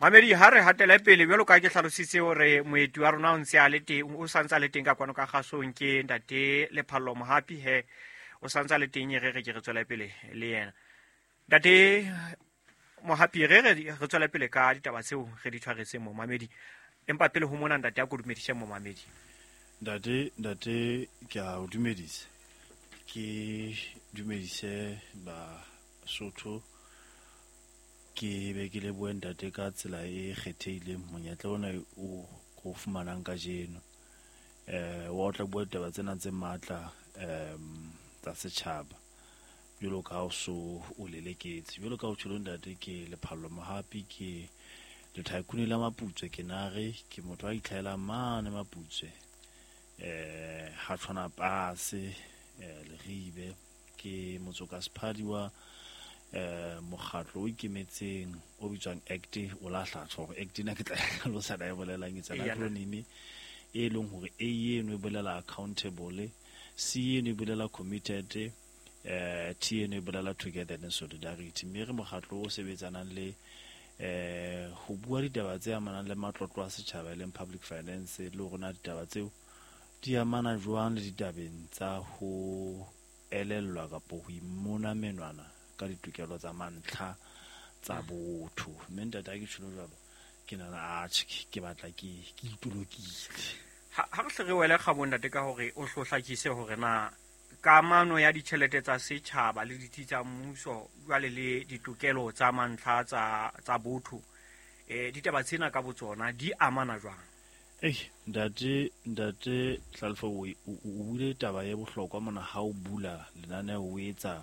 Mamedi, ha re hatele pele jwalo ka ke hlalositse hore moeti wa rona o ntse a le teng, o sa ntse a le teng ka kwano ka kgasong, ke ntate Lephallo Mohapi. He o sa ntse a le teng, e re re ke re tswele pele le yena. Ntate Mohapi, re re re tswele pele ka ditaba tseo re di tshwaretseng momamedi, empa pele ho mona ntate a ko dumedise momamedi. Ntate, ke a o dumedisa, ke dumedise Basotho, ke be ke lebohe ntate ka tsela e kgethehileng monyetla ona o o fumanang kajeno, wa o tla bua ditaba tsena tse matla tsa setjhaba jwalo ka ha o so o leleketse. Jwalo ka o tjholo ntate, ke Lephallo Mohapi, ke lethaikune la Maputswe, ke nare, ke motho a itlhaelang mane Maputswe, ha tshwana pase, Leribe, ke motsoka sephadi wa mokgatlo o ikemetseng o bitswang ACT, o la hlatswa hore ACT ena ke tla hlalosa na e bolelang, it's an acronym e leng hore A eno e bolela accountable, C eno e bolela committed, T eno e bolela together and solidarity. Mme re mokgatlo o sebetsanang le ho bua ditaba tse amanang le matlotlo a setjhaba, e leng public finance, le hore na ditaba tseo di amana jwang le ditabeng tsa ho elellwa kapo ho imona menwana ka ditokelo tsa mantlha tsa botho. Mme ntate, ha ke tjholo jwalo, ke nahana atjhe, ke batla ke itolokile. Ha re hle re wele kgabong ntate, ka hore o hlo hlakise hore na kamano ya ditjhelete tsa setjhaba le ditsi tsa mmuso jwale le ditokelo tsa mantlha tsa botho, ditaba tsena ka botsona di amana jwang? Ei, ntate Hlalefo, o buile taba e bohlokwa mona ha o bula lenaneo, o etsa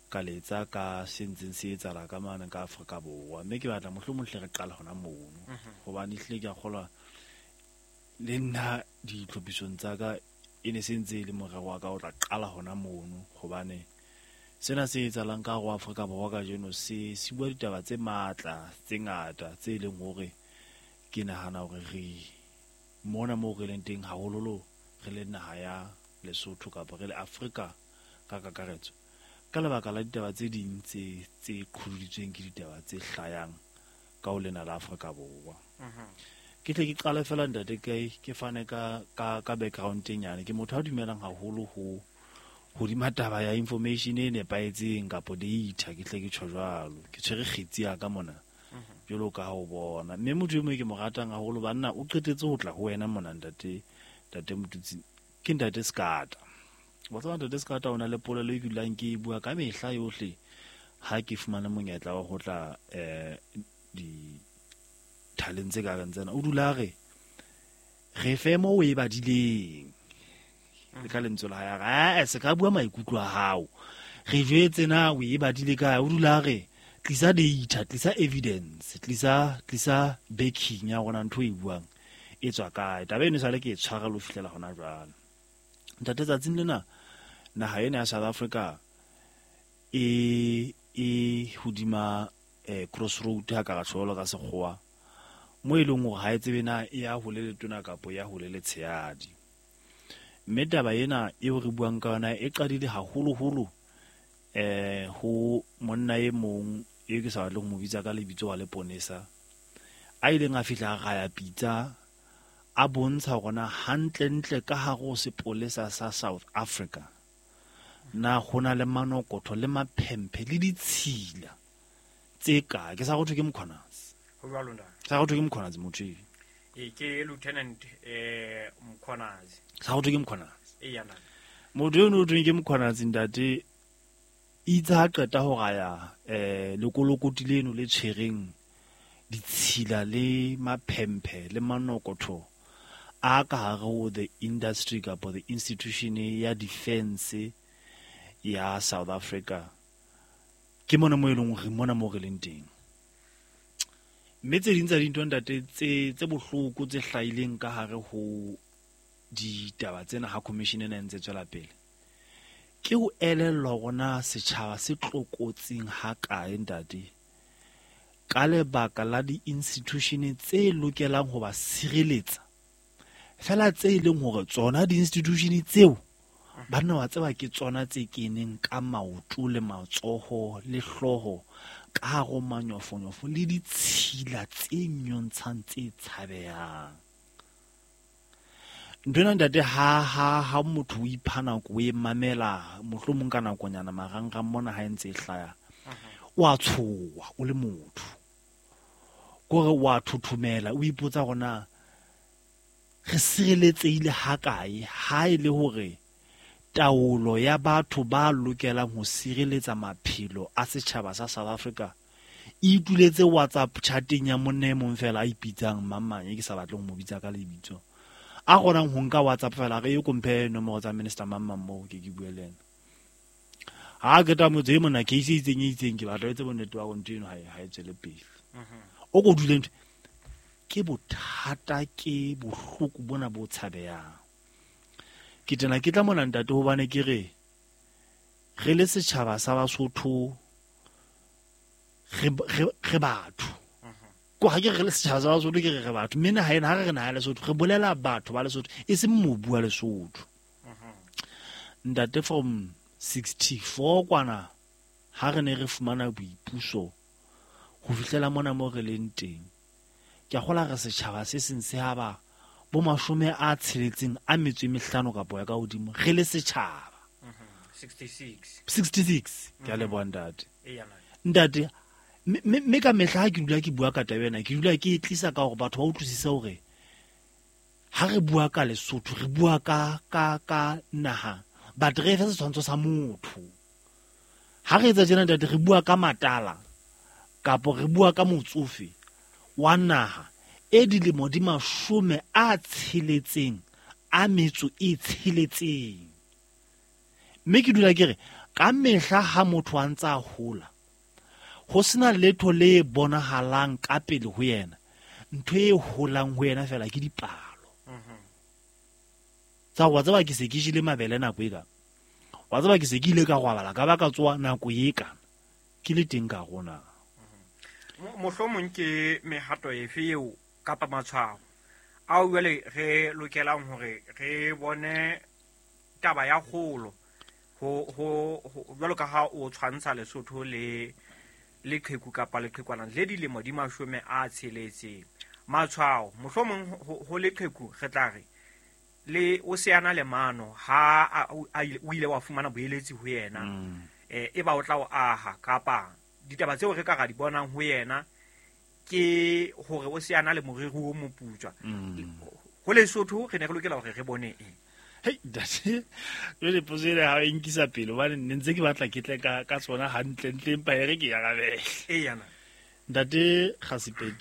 ka letsa ka se ntseng se etsahala ka mane ka Afrika Borwa. Mme ke batla mohlomong hle re qala hona mono, hobane ehlile ke a kgolwa le nna ditlhophisong tsa ka e ne se ntse e le morero wa ka o tla qala hona mono, hobane sena se etsahalang ka hare ho Afrika Borwa kajeno se bua ditaba tse matla tse ngata tse leng hore ke nahana hore re mona moo re leng teng haholoholo re le naha ya Lesotho kapa re le Afrika ka kakaretso, ka lebaka la ditaba tse ding tse qholoditsweng ke ditaba tse hlayang ka ho lena la Afrika Borwa. Ke tle ke qale fela ntate, ke fane ka background e nyane. Ke motho a dumelang haholo ho hodima taba ya information e nepahetseng kapo data, ke tle ke tjho jwalo. Ke tshwere kgetsi ya ka mona jwalo ka ha o bona. Mme motho e mong ke mo ratang haholo banna, o qetetse ho tla ho wena mona ntate, ntate Motutsi, ke ntate Skata. Wa tseba ntate Skata o na le polelo e ke dulang ke e bua ka mehla yohle ha ke fumane monyetla wa ho tla dithaleng tse ka reng tsena. O dula a re, re fe moo o e badileng. Le ka lentswe la hae a re, se ka bua maikutlo a hao. Re jwetse na o e badile kae. O dula a re, tlisa data, tlisa evidence, tlisa backing ya rona ntho e buang e tswa kae. Taba eno esale ke e tshwara le ho fihlela hona jwale. Ntate, tsatsing lena naha ena ya South Africa e hodima crossroad ha ka re tjho ka sekgowa, mo e leng hore ha e tsebe na e ya ho le letona kapa ya ho le letshehadi. Mme taba ena eo re buang ka yona e qadile haholoholo ho monna e mong e ke sa batleng ho mo bitsa ka lebitso wa leponesa, a ileng a fihla a raya pitsa a bontsha hore na hantlentle ka hare ho sepolesa sa South Africa na ho na le manokotho le maphemphe le ditshila tse kae. Ke sa go thwe ke Mkhwanazi. Ho jwalo ntate. Sa go thwe ke Mkhwanazi motho e. E ke Lieutenant Mkhwanazi. Sa go thwe ke Mkhwanazi. E ya ntate. Motho eno o thweng ke Mkhwanazi ntate, itse ha qeta ho raya lekolokoti leno le tshwereng ditshila le maphemphe le manokotho a ka hare ho the industry kapa the institution ya defense ya South Africa. Ke mona mo e leng hore mona mo re leng teng. Mme tse ding tsa dintho ntate tse bohloko tse hlahileng ka hare ho ditaba tsena ha commission ena e ntse tswela pele, ke ho elellwa hore na setjhaba se tlokotsing ha kae ntate, ka lebaka la di-institution tse lokelang ho ba sireletsa, fela tse e leng hore tsona di-institution tseo banna wa tseba ke tsona tse keneng ka maoto le matsoho le hlooho ka hare ho manyofonyofo le ditshila tse nyontshang tse tshabehang. Ntho ena ntate, ha motho o ipha nako o e mamela, mohlomong ka nakonyana marangrang mona ha e ntse e hlaya, o a tshoha o le motho, kore o a thothomela, o ipotsa hore na re sireletsehile hakae ha e le hore taolo ya batho ba lokelang ho sireletsa maphelo a setjhaba sa South Africa e ituletse WhatsApp chateng ya monna e mong fela a ipitsang mang e ke sa batleng ho mo bitsa ka lebitso, a kgonang ho nka WhatsApp fela re e komphe nomoro tsa minister mang mang moo ke bue le yena. Ha ke ta motse e mona case e itseng e itseng, ke batla etse bonnete ba hore ntho eno ha e tswele pele. O ko dule ntho ke bothata, ke bohloko bona bo tshabehang. Ke tena ke tla mona ntate hobane ke re re le setjhaba sa Basotho re batho. Ko ha ke re le setjhaba sa Basotho ke re re batho, mme naha ena ha re re naha ya Lesotho re bolela batho ba Lesotho e seng mobu wa Lesotho. Ntate, from 64 kwana ha re ne re fumana boipuso ho fihlela mona mo re leng teng, ke a kgola re setjhaba se seng se ha ba bo 65 kapa ya ka hodimo re le setjhaba. 66. 66 ke a leboha ntate. Ntate, mme ka mehla ha ke dula ke bua ka taba ena, ke dula ke e tlisa ka hore batho ba utlwisise hore ha re bua ka Lesotho re bua ka naha, but re fe setshwantsho sa motho. Ha re etsa tjena ntate, re bua ka matala kapo re bua ka motsofe wa naha e dilemo di 66. Mme ke dula ke re ka mehla ha motho a ntse a hola, ho sena letho le bonahalang ka pele ho yena, ntho e holang ho yena fela ke dipalo. Tsa wa tseba ke se ke jele mabele nako e ka, wa tseba ke se ke ile ka robala ka ba ka tsoha nako e kana ke le teng ka rona. Mohlomong ke mehato efe eo kapa matshwao ao jwale re lokelang hore re bone taba ya kgolo ho jwalo ka ha o tshwantsha Lesotho le leqheku kapa leqhekwana le dilemo di 60. Matshwao mohlomong ho leqheku re tla re le o se ana le mano ha o ile wa fumana boeletsi ho yena, e ba o tla o aha kapa ditaba tseo re ka ra di bonang ho yena ke hore o se ana le moriri o moputswa. Ho Lesotho re ne re lokela hore re bone eng? Hei, ntate, jwale potso ena ha e nkisa pele hobane ne ntse ke batla ke tle ka tsona hantle ntle, empa e re ke arabele. Eya na. Ntate Kgasipe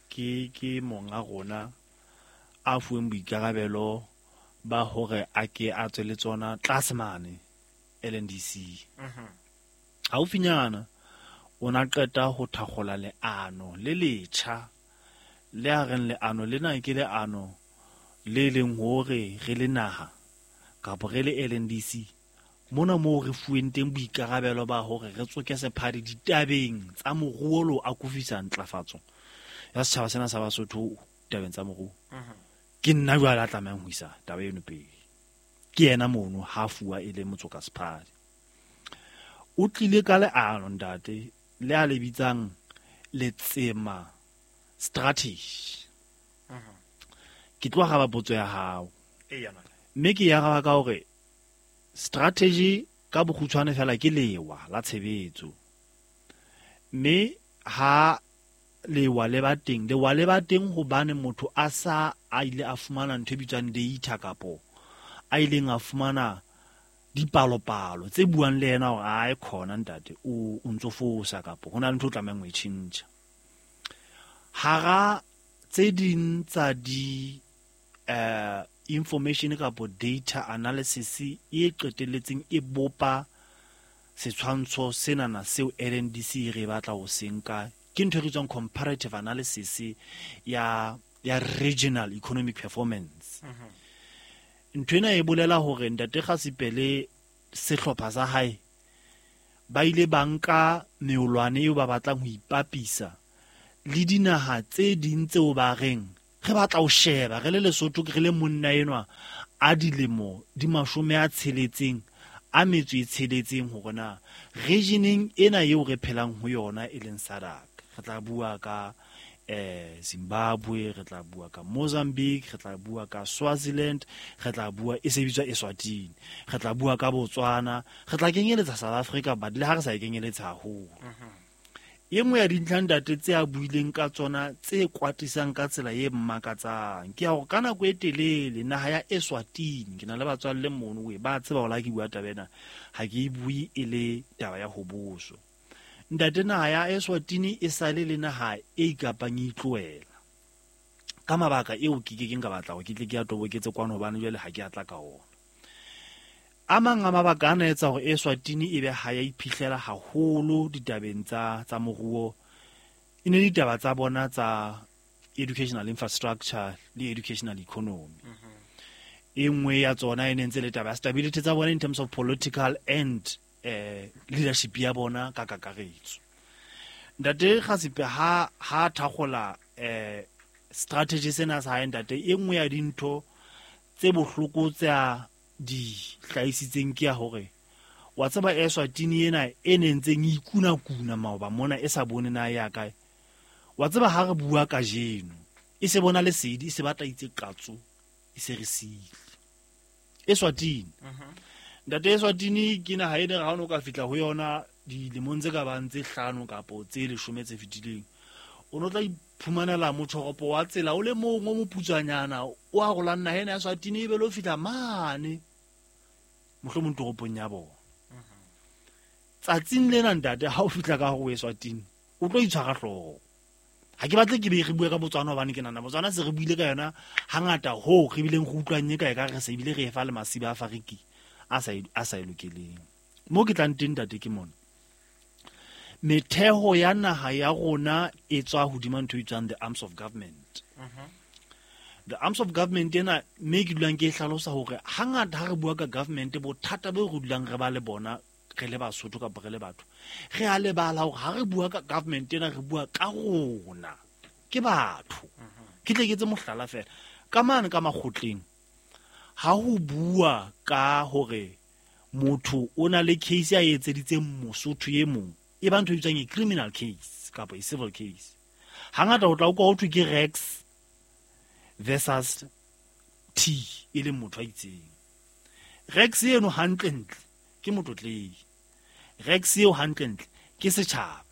ke monga rona a fuweng boikarabelo ba hore a ke a tswe le tsona tlase mane LNDC. Haufinyana o na qeta ho thakgola leano le letjha, le a reng leano lena ke leano le leng hore re le naha kapa re le LNDC mona moo re fuweng teng boikarabelo ba hore re tsoke sephadi ditabeng tsa moruo le ho akofisa ntlafatso ya setjhaba sena sa Basotho tabeng tsa moruo. Ke nna jwale a tlamehang ho isa taba eno pele. Ke yena mono ha fuwa e le motsoka sephadi. O tlile ka leano ntate le a le bitsang Letsema strategy. Ke tlo araba potso ya hao. Mme ke e araba ka hore strategy ka bokgutshwane fela ke lewa la tshebetso. Mme ha lewa le ba teng, lewa le ba teng hobane motho a sa a ile a fumana ntho e bitswang data kapo a ileng a fumana dipalopalo tse buang le yena hore ae khona ntate o ntso fosa kapo ho na le ntho o tlamehang ho e tjhentjha. Hara tse ding tsa di information kapo data analysis e qetelletseng e bopa setshwantsho senana seo LNDC re batla ho se nka, ke ntho e bitswang comparative analysis ya regional economic performance. Ntho ena e bolela hore ntate Kgasipe le sehlopha sa hae ba ile ba nka meolwane eo ba batlang ho ipapisa le dinaha tse ding tseo ba reng re batla ho sheba re le Lesotho, re le monna enwa a dilemo di 66 a metso e tsheletseng hore na regioneng ena eo re phelang ho yona e leng SADC, re tla bua ka Zimbabwe, re tla bua ka Mozambique, re tla bua ka Swaziland, re tla bua e se bitswa Eswatini, re tla bua ka Botswana, re tla kenyeletsa South Africa, but le ha re sa e kenyeletsa haholo. E nngwe ya dintlha ntate tse a buileng ka tsona tse kwatisang ka tsela e mmakatsang ke ya hore ka nako e telele naha ya Eswatini, ke na le batswalle mono we ba tseba hore ha ke bua taba ena ha ke e bue e le taba ya ho boso. Ntate, naha ya Eswatini e sale le naha e ikapang e itlohela ka mabaka eo ke ke keng ka batla hore ke tle ke a toboketse kwano, hobane jwale ha ke a tla ka ona. A mang a mabaka ana etsa hore Eswatini e be ha ya iphihlela haholo ditabeng tsa moruo, e ne ditaba tsa bona tsa educational infrastructure le educational economy. E nngwe ya tsona e ne ntse le taba ya stability tsa bona in terms of political and leadership ya bona ka kakaretso. Ntate Kgasipe ha thakgola strategy sena sa hae, ntate, e nngwe ya dintho tse bohloko tse a di hlahisitseng ke ya hore wa tseba Eswatini ena e ne ntseng e ikuna-kuna maoba mona e sa bone na ya kae. Wa tseba ha re bua kajeno e se bona lesedi, e se batla itse qatso, e se re siile. Eswatini. Ntate, Eswatini ke naha e ne ha o no ka fihla ho yona dilemong tse ka bang tse 5 kapo tse 10 tse fetileng, o no tla iphumanela motjhoropo wa tsela o le mong o moputswanyana o arolang naha ena ya Eswatini, e be le ho fihla mane mohlomong toropong ya bona. Tsatsing lena ntate, ha o fihla ka hore o Eswatini, o tlo itshwara hlooho. Ha ke batle ke be re bue ka Botswana, hobane ke nahana Botswana se re buile ka yona hangata hoo re bileng re utlwang e ka e ka re se ebile re e fa le masiba a fariki a sa e lokeleng. Mo ke tlang teng ntate ke mona. Metheo ya naha ya rona e tswa hodima ntho e bitswang the arms of government. The arms of government ena, mme ke dulang ke e hlalosa hore hangata ha re bua ka government, bothata bo re dulang re ba le bona re le Basotho kapa re le batho, re a lebala hore ha re bua ka government ena re bua ka rona, ke batho. Ke tle ke etse mohlala fela ka mane ka makgotleng, ha ho bua ka hore motho o na le case a etseditseng Mosotho e mong, e ba ntho e bitswang e criminal case kapa e civil case. Hangata o tla utlwa ho thwe ke Rex versus T, e leng motho a itseng. Rex eno hantlentle ke motlotlehi, Rex eo hantlentle ke setjhaba,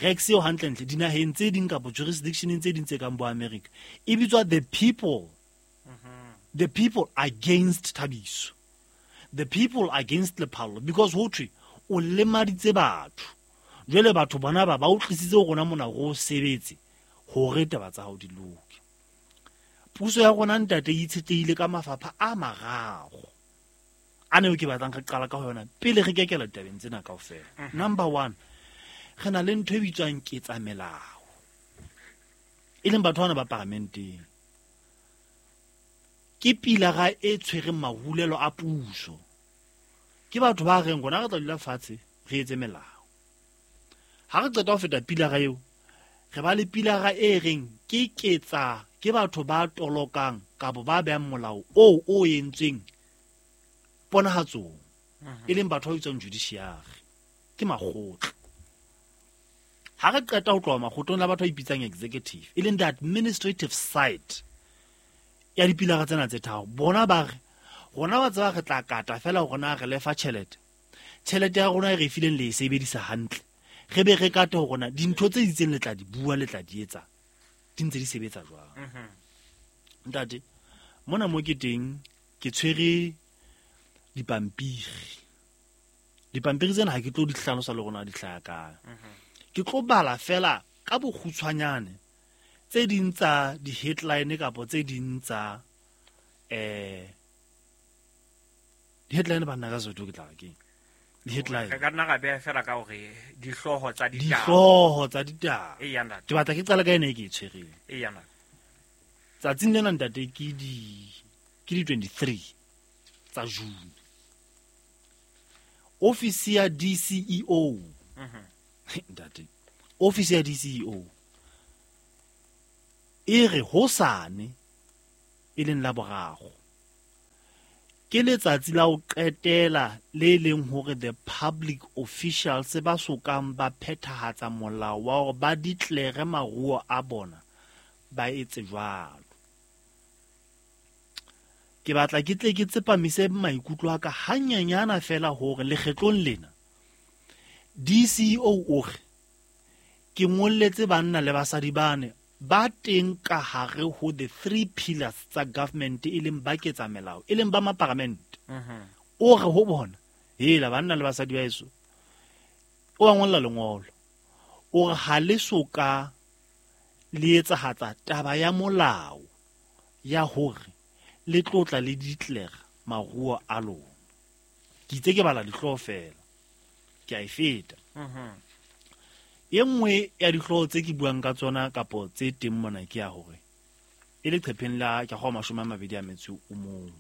Rex eo hantlentle dinaheng tse ding kapa jurisdictioneng tse ding tse kang bo America e bitswa the people. The people against Thabiso, the people against Lephallo, because ho thwe o lemaditse batho. Jwale batho bona ba o tlisitse ho rona mona ho sebetse hore taba tsa hao di loke. Puso ya rona ntate e itshetlehile ka mafapha a mararo a neo ke batlang re qala ka ho yona pele re kekela ditabeng tsena kaofela. Number 1, re na le ntho e bitswang ketsamelao, e leng batho bana ba paramenteng. Ke pilara e tshwereng mahulelo a puso. Ke batho ba reng rona re tla dula fatshe re etse melao. Ha re qeta ho feta pilara eo, re ba le pilara e reng ke ketsa, ke batho ba tolokang kapa ba behang molao oo o entsweng ponahatsong, e leng batho ba bitswang judiciary, ke makgotla. Ha re qeta ho tloha makgotleng la batho ba ipitsang executive, e leng the administrative side ya dipilara tsena tse tharo, bona ba re rona ba tseba re tla kata fela hore na re lefa tjhelete, tjhelete ya rona e re e fileng le e sebedisa hantle, re be re kate hore na dintho tse itseng le tla di bua, le tla di etsa, di ntse di sebetsa jwang. Ntate, mona mo ke teng ke tshwere dipampiri. Dipampiri tsena ha ke tlo di hlalosa le rona di hlaha kae. Ke tlo bala fela ka bokgutshwanyane tse ding tsa di-headline kapa tse ding tsa di-headline banna ka Sesotho ke tla re keng? Di-headline. Re ka nna ra beha fela ka hore dihlooho tsa ditaba. Dihlooho tsa ditaba. Eya, ntate. Ke batla ke qale ka ena e ke e tshwereng. Eya, ntate. Tsatsing lena ntate ke di 23 tsa June. Office ya DCEO. Ntate, office ya DCEO e re hosane e leng la boraro, Ke letsatsi la ho qetela le leng hore the public officials ba sokang ba phethahatsa molao wa hore ba declare maruo a bona ba etse jwalo. Ke batla ke tle ke tsepamise maikutlo a ka hanyenyana fela hore lekgetlong lena DCEO o re ke ngolletse banna le basadi bane ba teng ka hare ho the three pillars tsa government, e leng ba ketsa melao, e leng ba maparamente. O re ho bona, hela banna le basadi ba eso, o ba ngolla lengolo, o re ha le soka le etsahatsa taba ya molao ya hore le tlotla le declare maruo a lona. Ke itse ke bala dihlooho fela, ke a e feta. E nngwe ya dihlooho tse ke buang ka tsona kapo tse teng mona ke ya hore e leqepheng la ke go 21,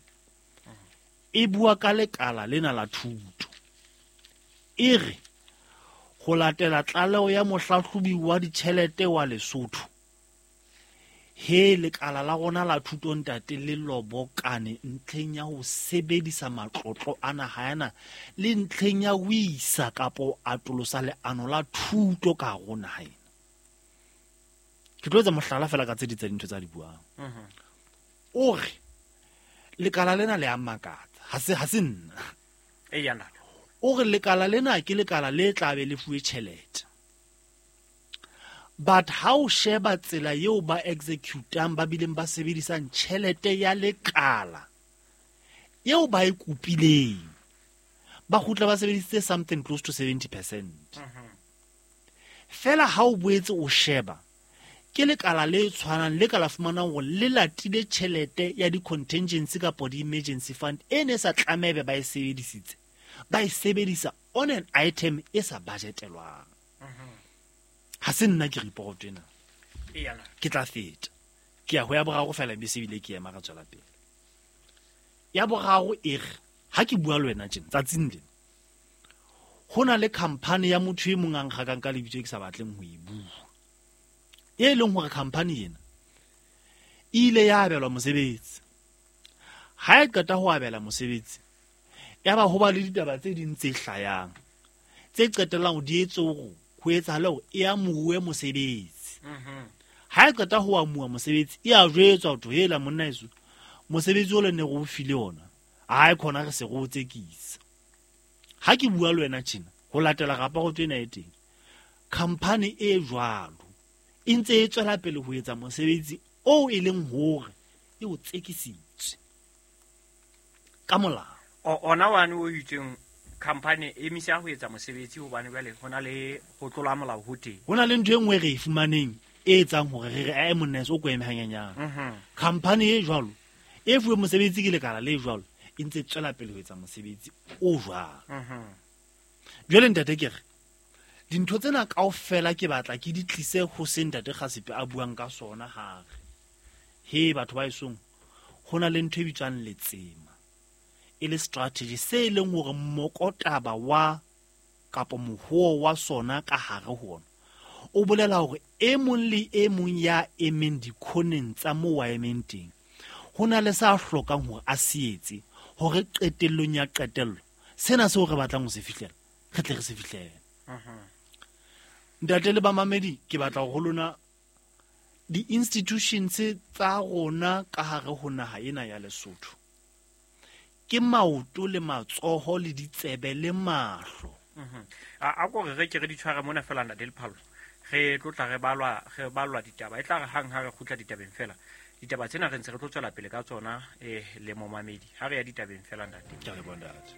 e bua ka lekala lena la thuto. E re ho latela tlaleho ya mohlahlobi wa ditjhelete wa Lesotho, he lekala la rona la thuto ntate le lobokane ntlheng ya ho sebedisa matlotlo a naha yana le ntlheng ya ho isa kapo atolosa leano la thuto ka hare ho naha ena. Ke tlo etsa mohlala fela ka tse ding tsa dintho tsa di buang. O re lekala lena le a makatsa, ha se nna. O re lekala lena ke lekala le tla be le fuwe tjhelete. But ha o sheba tsela eo ba executang ba bileng ba sebedisang tjhelete ya lekala eo ba e kopileng, ba kgutla ba sebedisitse something close to 70%. Fela ha o boetse o sheba ke lekala le tshwanang le ka la fumanang hore le latile tjhelete ya di-contingency kapa di-emergency fund e ne sa tlamebe ba e sebedisitse, ba e sebedisa on an item e sa budgetelwang. Ha se nna ke report ena. Ke tla feta. Ke ya ho ya boraro fela be se bile ke ema ra tswela pele. Ya boraro e re ha ke bua le wena tjena tsatsing lena, ho na le company ya motho e mong a nkgakang ka lebitso e ke sa batleng ho e bua, e leng hore company ena e ile ya abelwa mosebetsi. Ha e qeta ho abela mosebetsi, ya ba ho ba le ditaba tse ding tse hlayang tse qetellang di etse hore ho etsahale hore e amuwe mosebetsi. Ha e qeta ho amuwa mosebetsi, e a jwetswa hore hela monna eso, mosebetsi o le ne re o file ona, ha e khona re se re o tsekisa. Ha ke bua le wena tjena, ho latela raporoto ena e teng, company e jwalo e ntse e tswela pele ho etsa mosebetsi oo e leng hore e o tsekisitswe ka molao. Ona wane o itseng company e emisa ho etsa mosebetsi hobane jwale ho na le ho tlola molao ho teng. Ho na le ntho e nngwe re e fumaneng e etsang hore re re monna o ko eme hanyenyane. Company e jwalo e fuwe mosebetsi ke lekala le jwalo e ntse tswela pele ho etsa mosebetsi o jwalo. Jwale ntate ke re dintho tsena kaofela ke batla ke di tlise ho se ntate Kgasipe a buang ka sona hare. He batho ba esong, ho na le ntho e bitswang letsema, e le strategy se e leng hore mokotaba wa kapa mohoo wa sona ka hare ho ona o bolela hore e mong le e mong ya emeng dikhoneng tsa moo a emeng teng ho na le sa hlokang hore a se etse hore qetellong ya qetello sena seo re batlang ho se fihlela re tle re se fihlele. Ntate le bamamedi, ke batla ho lona di-institutions tsa rona ka hare ho naha ena ya Lesotho ke maoto le matsoho le ditsebe le mahlo. A ko re ke re di tshware mona fela ntate Lephallo, re tlotla re balwa ditaba, e tla re hang ha re kgutla ditabeng fela. Ditaba tsena re ntse re tlo tswela pele ka tsona le momamedi ha re ya ditabeng fela ntate. Ke a leboha ntate.